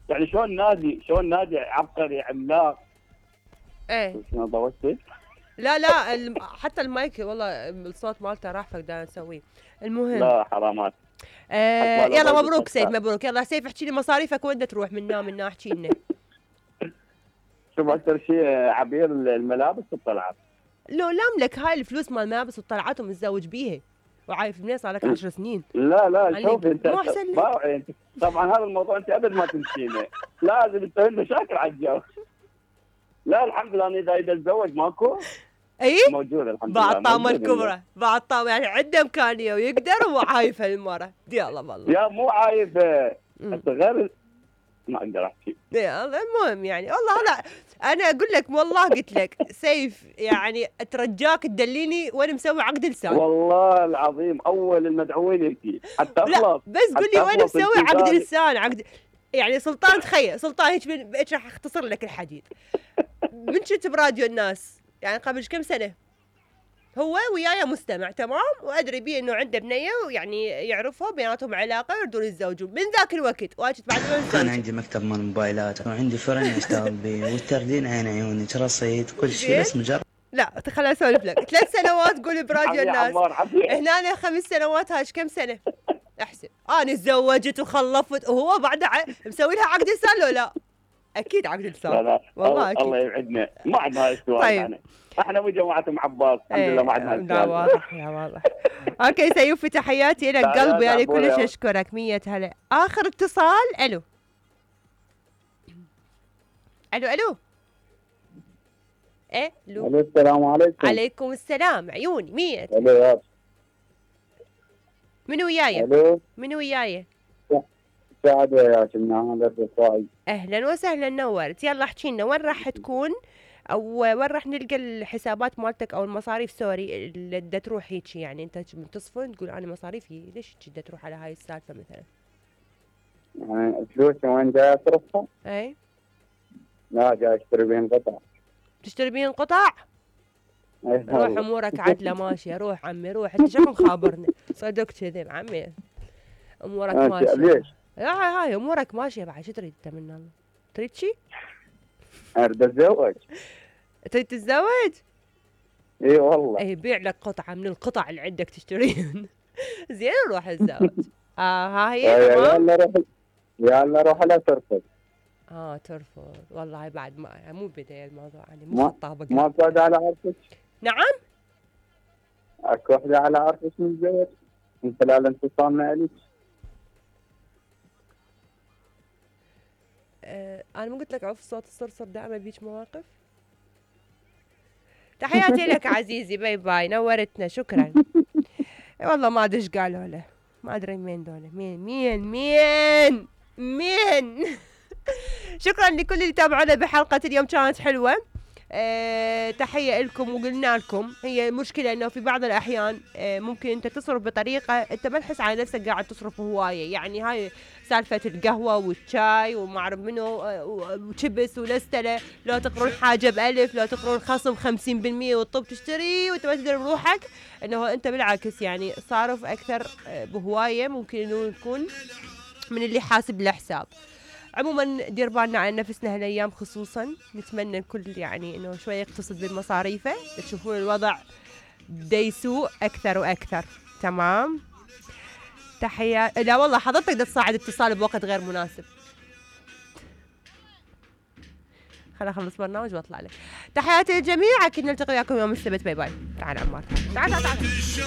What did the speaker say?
يعني شلون نادي عبقري عملاق. ايه شنو ضوجتي؟ لا حتى المايك والله الصوت مالته راح فقدان نسويه. المهم لا حرامات. يلا مبروك سيف، مبروك. يلا سيف احكي لي مصاريفك وين تروح من احكي لنا. شوف اكثر شيء عبير الملابس والطلعات. لو لاملك هاي الفلوس مال الملابس والطلعات ومتزوج بيها وعايف منين صار لك 10 سنين. لا شوف انت مو احسن لك؟ طبعا هذا الموضوع انت ابد ما تمشينه، لازم تسوي مشاكل على الجو. لا الحمد لله انا اذا اتزوج ماكو اي موجود الحمد لله. بعد طامه الكبرى، بعد طامه يعني عنده امكانيه ويقدر وعايفه المره. يلا والله يا مو عايفه غير ما اقدر احكي. يلا المهم يعني والله لا انا اقول لك والله قلت لك سيف يعني اترجاك تدليني وين مسوي عقد لسان. والله العظيم اول المدعوين يبكي حتى اخلص. لا بس قول لي وين مسوي عقد لسان. عقد يعني سلطان، تخيل سلطان هيك راح اختصر لك الحديد. من كنت براديو الناس يعني قبل كم سنه هو وياي مستمع تمام، وادري بيه انه عنده بنيه ويعني يعرفها بيناتهم علاقه ويردون يتزوجون. من ذاك الوقت واجد بعد ما انا عندي مكتب مال موبايلات وعندي فرن اشتغل به والتردين عين عيونك رصيد كل شيء بس مجرد. لا خليني اسولف لك. 3 سنوات قول براديو الناس، هنا 5 سنوات. هاش كم سنه احسب. انا تزوجت وخلفت وهو بعد مسوي لها عقد لسان لو لا؟ اكيد عقد لسان. لا والله اكيد. الله يبعدنا ما عندنا هاي السؤال. طيب. احنا مو جماعه ام عباس الحمد لله ما عندنا هاي السؤال. لا واضح. اوكي سيوفي تحياتي لك قلبي يعني كلش اشكرك 100 هلا. اخر اتصال. الو ايه الو السلام عليكم. عليكم السلام عيوني 100. الو منو وياي؟ الو منو وياي؟ سعد وياك من هذا الرفاعي. اهلا وسهلا نورت. يلا احكي لنا وين راح تكون او وين راح نلقى الحسابات مالتك او المصاريف سوري اللي بدها تروح هيك. يعني انت من تصفن تقول انا مصاريفي ليش بدها تروح على هاي السالفه مثلا؟ يعني الفلوس وين جاي اصرفها؟ اي لا جاي اشتري بين قطع. تشتري بين قطع؟ روح امورك عدله ماشيه. روح عمي روح. انت شكو مخابرني صدق كذب عمي امورك ماشيه. ليش؟ هاي امورك ماشيه بعد. شو تريد انت من الله؟ تريد شي؟ اريد اتزوج. تريد تتزوج؟ اي والله. اي بيع لك قطعه من القطع اللي عندك تشتريهن. زين روح اتزوج. ها هي تمام. يلا روح لا ترفض. ترفض والله بعد ما مو بداية الموضوع يعني مو خطابك. ماكو وحده على عرفك؟ نعم؟ اكو وحده على عرفك متزوج من خلال انفصالنا اليك؟ انا مو قلت لك عف صوت الصرصر دائما بيج مواقف. تحياتي لك عزيزي باي باي نورتنا شكرا. والله ما ادري ايش قالوا له ما ادري مين دول مين. شكرا لكل اللي تابعونا بحلقة اليوم كانت حلوة. تحية لكم. وقلنا لكم هي مشكلة انه في بعض الاحيان ممكن انت تصرف بطريقة انت ما تحس على نفسك قاعد تصرف هواية. يعني هاي سالفة القهوة والشاي وما اعرف منو وشبس ولستلة. لو تقرون حاجة ب1000 لو تقرون خصم 50% والطب تشتري وانت ما تدري بروحك انه انت بالعكس يعني صارف اكثر بهواية ممكن انه يكون من اللي حاسب له حساب. عموما دير بالنا على نفسنا هالايام خصوصا. نتمنى الكل يعني انه شوي يقتصد بالمصاريفه. تشوفون الوضع بدا يسوء اكثر واكثر. تمام. تحية. لا والله حضرتك بدها تصاعد اتصال بوقت غير مناسب. خليني اخلص برنامج واطلع لك. تحياتي للجميع. اكيد نلتقي وياكم يوم السبت. باي باي. تعال عمار تعال.